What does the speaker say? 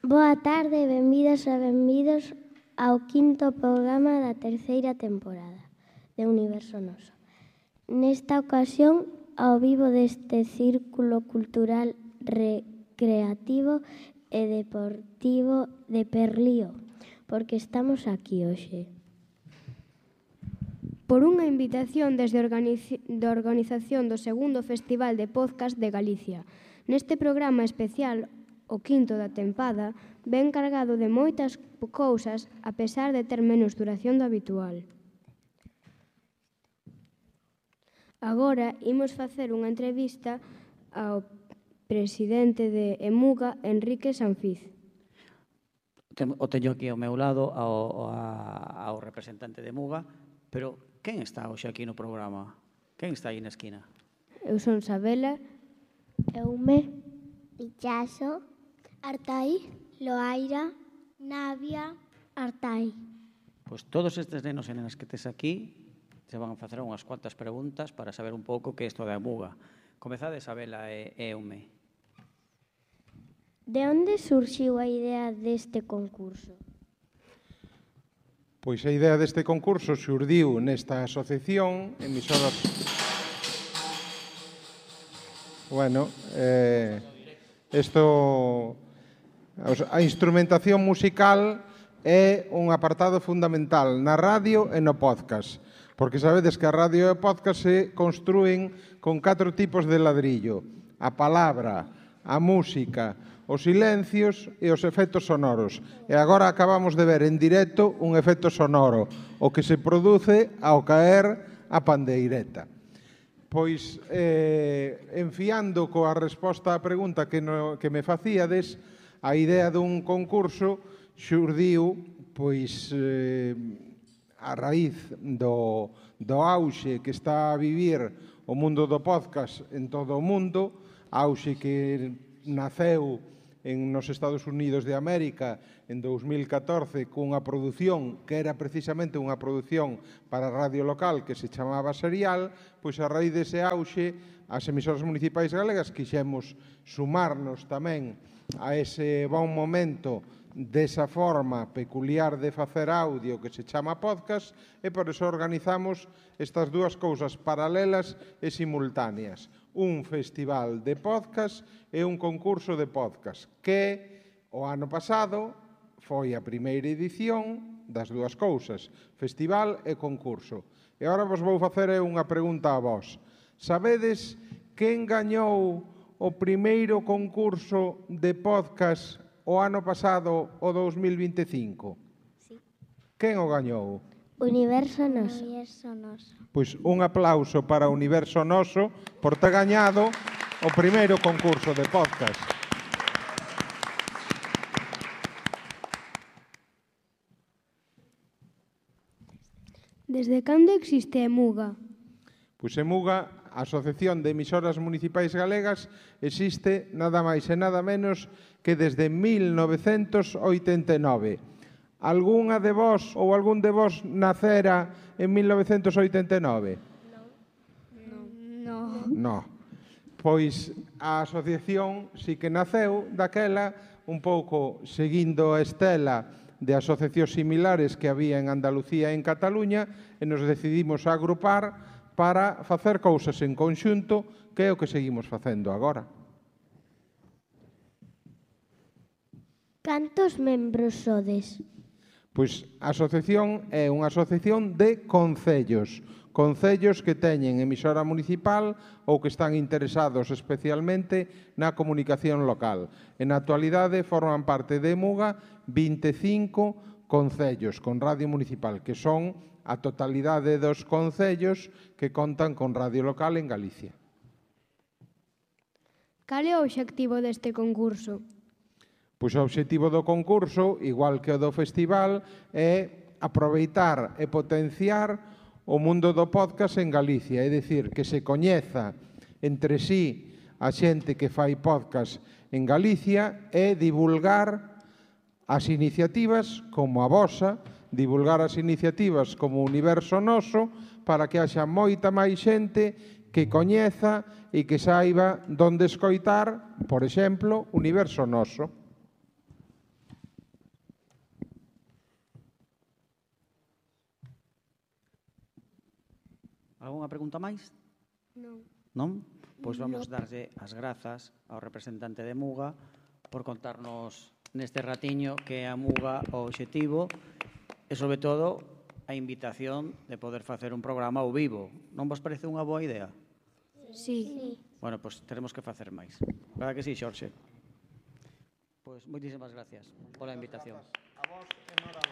Boa tarde, benvidas e benvidos ao quinto programa da terceira temporada de Universo Noso. Nesta ocasión, ao vivo deste círculo cultural recreativo e deportivo de Perlío, porque estamos aquí hoxe. Por unha invitación desde da organización do segundo Festival de Podcast de Galicia. Neste programa especial, o quinto da tempada, ven cargado de moitas cousas, a pesar de ter menos duración do habitual. Agora imos facer unha entrevista ao presidente de EMUGA, Enrique Sanfiz. O teño aquí ao meu lado ao representante de EMUGA, pero quen está hoxe aquí no programa? Quen está aí na esquina? Eu son Sabela. Eume, Ichaso, Artai, Loaira, Navia, Artai. Pois todos estes nenos e nenas que tes aquí se van a facer unhas cuantas preguntas para saber un pouco que é isto da EMUGA. Comezade, Sabela e Eume. De onde surxiu a idea deste concurso? Pois a idea deste concurso xurdiu nesta asociación emisoras... Bueno, a instrumentación musical é un apartado fundamental na radio e no podcast, porque sabedes que a radio e o podcast se construen con 4 tipos de ladrillo: a palabra, a música, os silencios e os efectos sonoros. E agora acabamos de ver en directo un efecto sonoro, o que se produce ao caer a pandeireta. Pois, enfiando coa resposta á pregunta que me facíades, a idea dun concurso xurdiu, pois, a raíz do auxe que está a vivir o mundo do podcast en todo o mundo, auxe que naceu nos Estados Unidos de América en 2014 cunha produción que era precisamente unha produción para radio local que se chamaba Serial, pois a raíz dese auxe as emisoras municipais galegas quixemos sumarnos tamén a ese bon momento desa forma peculiar de facer audio que se chama podcast, e por eso organizamos estas dúas cousas paralelas e simultáneas: un festival de podcast e un concurso de podcast, que o ano pasado foi a primeira edición das dúas cousas, festival e concurso. E agora vos vou facer unha pregunta a vos. Sabedes quen gañou o primeiro concurso de podcast o ano pasado, o 2025? Sí. Quen o gañou? Universo Noso. Pois un aplauso para Universo Noso por ter gañado o primeiro concurso de podcast. Desde cando existe EMUGA? Pois EMUGA, a Asociación de Emisoras Municipais Galegas, existe nada máis e nada menos que desde 1989. Algúnha de vos ou algún de vos nacera en 1989? No. Pois a asociación sí que naceu daquela un pouco seguindo a estela de asociacións similares que había en Andalucía e en Cataluña, e nos decidimos a agrupar para facer cousas en conxunto, que é o que seguimos facendo agora. Cantos membros sodes? Pois a asociación é unha asociación de concellos que teñen emisora municipal ou que están interesados especialmente na comunicación local. En a actualidade forman parte de EMUGA 25 concellos con radio municipal, que son a totalidade dos concellos que contan con radio local en Galicia. Cal é o obxectivo deste concurso? Pois o obxectivo do concurso, igual que o do festival, é aproveitar e potenciar o mundo do podcast en Galicia, é dicir, que se coñeza entre sí a xente que fai podcast en Galicia e divulgar as iniciativas como a vosa, divulgar as iniciativas como Universo Noso, para que haxa moita máis xente que coñeza e que saiba donde escoitar, por exemplo, Universo Noso. Algúnha pregunta máis? Non. Non? Pois vamos darlle as grazas ao representante de Muga por contarnos neste ratiño que é a Muga o obxectivo e, sobre todo, a invitación de poder facer un programa ao vivo. Non vos parece unha boa idea? Sí. Bueno, pois teremos que facer máis. Verdad que sí, Xorxe? Pois moitísimas gracias pola invitación. A vos, enhorabuena.